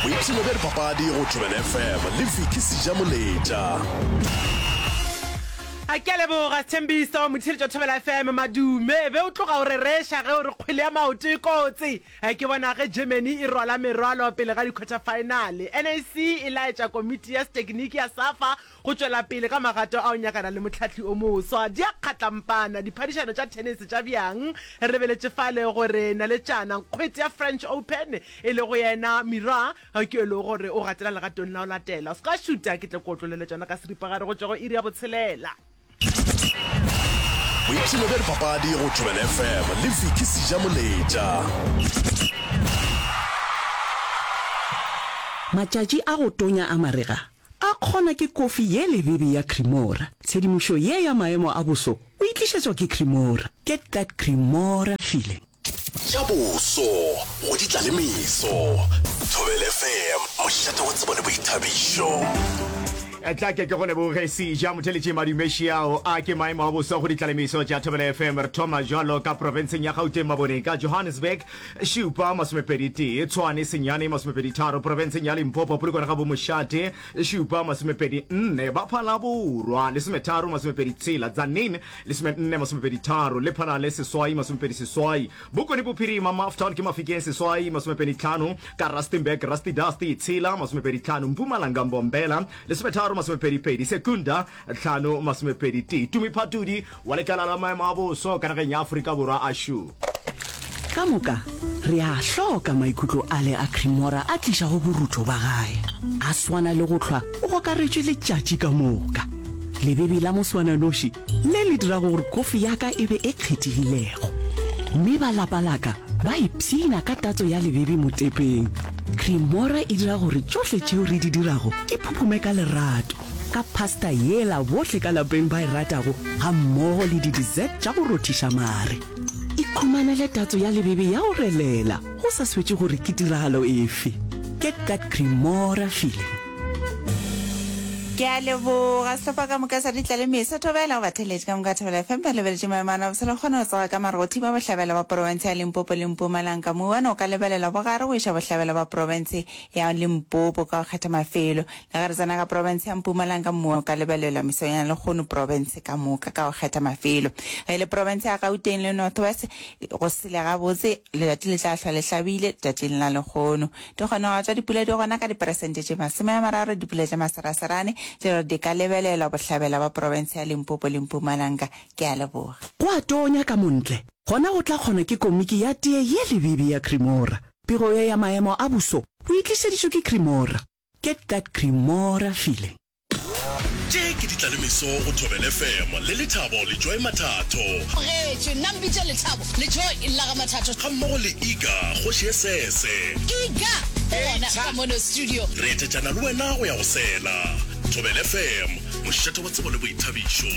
Boipshino bja dipapadi go Thobela FM le Vicky Sejamoletša. A ke a leboga Sthembiso, motheeletši wa Thobela FM, Madume, be o tloga o rereša ge o re kgwele ya maoto e kotsi. Ke bona ge Germany e rwala merwalo pele ga di-quarter-final. NAC e laetša komiti ya setekniki ya SAFA Go tšwela pele ka magato a go nyakana le mohlahli o moswa, di a kgatlampana diphadišano tša thenese tša bjang. Re lebeletše fale gore naletšana nkgwete ya French Open e lego yena Mira ke yo e lego gore o gatela legatong la go latela. O se ka šuta ke tle ke otlolele tšona ka seripagare go tšwa go iri ya botshelela. Boipshino bja dipapadi go Thobela FM le Vicky Sejamoletša. Matšatši a go tonya a marega A kgona ke kofi ye lebebe ya Cremora. Tshedimošo ye ya maemo a boso o e tlišetšwa ke Cremora. Get that Cremora feeling. Tša boso go di tla le meso. Thobela FM, mošate wa tsebo le boithabišo. Tla ke ke go leboge Seja Motheletši Madumešiao. A ke maemo a boso go ditlalemiso tša Thobela FM. Re thoma jwalo ka profenseng ya Gauteng Maboneng ka Johannesburg Šupa, masomepedi tee, Tshwane, senyane, masomepedi tharo, profenseng ya Limpopo, Polokwane ga Bomošate, šupa, masomepedi nne, Baphala Borwa, lesometharo, masomepedi tshela, Tzaneen, lesomenne, masomepedi tharo, Lephalale, seswai, masomepedi seswai, Bokone Bophirima, Maftown ke Mafikeng, seswai, masomepedi tlhano, ka Rustenburg, Rusty Dusty, tshela, masomepedi tlhano, Mpumalanga, Mbombela, lesometharo, masomepedi pedi, Secunda, Tlhano masomepedi tee. Tumi Phatudi wa lekala la maemo a boso ka nageng ya Afrika Borwa a šo. Ka moka re a hloka maikutlo ale a Cremora a tlišago borutho ba gae. A swana le go hlwa o gokaretšwe letšatši ka moka. Lebebe la moswananoši le le dirago gore kofi ya ka e be e kgethegilego. Mme ba lapa la ka ba ipshina ka tatso ya lebebe motepeng. Cremora e dira gore tšohle tšeo re di dirago di phuphume ka lerato. Ka pasta yela bohle ka lapeng ba e ratago gammogo le di-dessert tša go rothiša mare. Ikhumanele tatso ya lebebe ya go relela go sa swetše gore ke tiragalo efe. Get that Cremora feeling. Ke a leboga sehlopha ka moka sa Ditlalemeso. Thobela go batheeletši ka moka Thobela FM ba lebeletše maemo a nabosele go kgona go tsoga ka mare go thiba bohlabela ba profense ya Limpopo le Mpumalanga. Mouwane o ka lebelelwa bogare go iša bohlabela ba profense ya Limpopo ka go kgetha mafelo. Le ge re tsena ka profense ya Mpumalanga, mmu o ka lebelelwa mesong ya lehono profense ka moka ka go kgetha mafelo. Ge e le profense ya Gauteng le North West, go sele gabotse, letšatši le tla hlwa le hlabile letšatšing la lehono. Dikgonego tša dipula di gona ka diperesente tše 30, dipula tša maseraserane tše di ka lebelelwa bohlabela ba profense ya Limpopo le Mpumalanga. Ke a leboga. Go a tonya ka montle, gona go tla kgona ke komiki ya tee ye lebebe ya Cremora. Pego ye ya maemo a boso o e tlišeditšwe ke Cremora. Get that Cremora feeling. Tše ke ditlalemeso go Thobela FM le Lethabo le Joy Mathatho. Tlogetšwe, nna mpitše Lethabo le Joy la ga Mathatho. Gammogo le Iga, kgoši ye sese. Iga o gona ka mono studio. Re etetšana le wena go ya go sela. Thobela FM, mošate wa tsebo le boithabišo.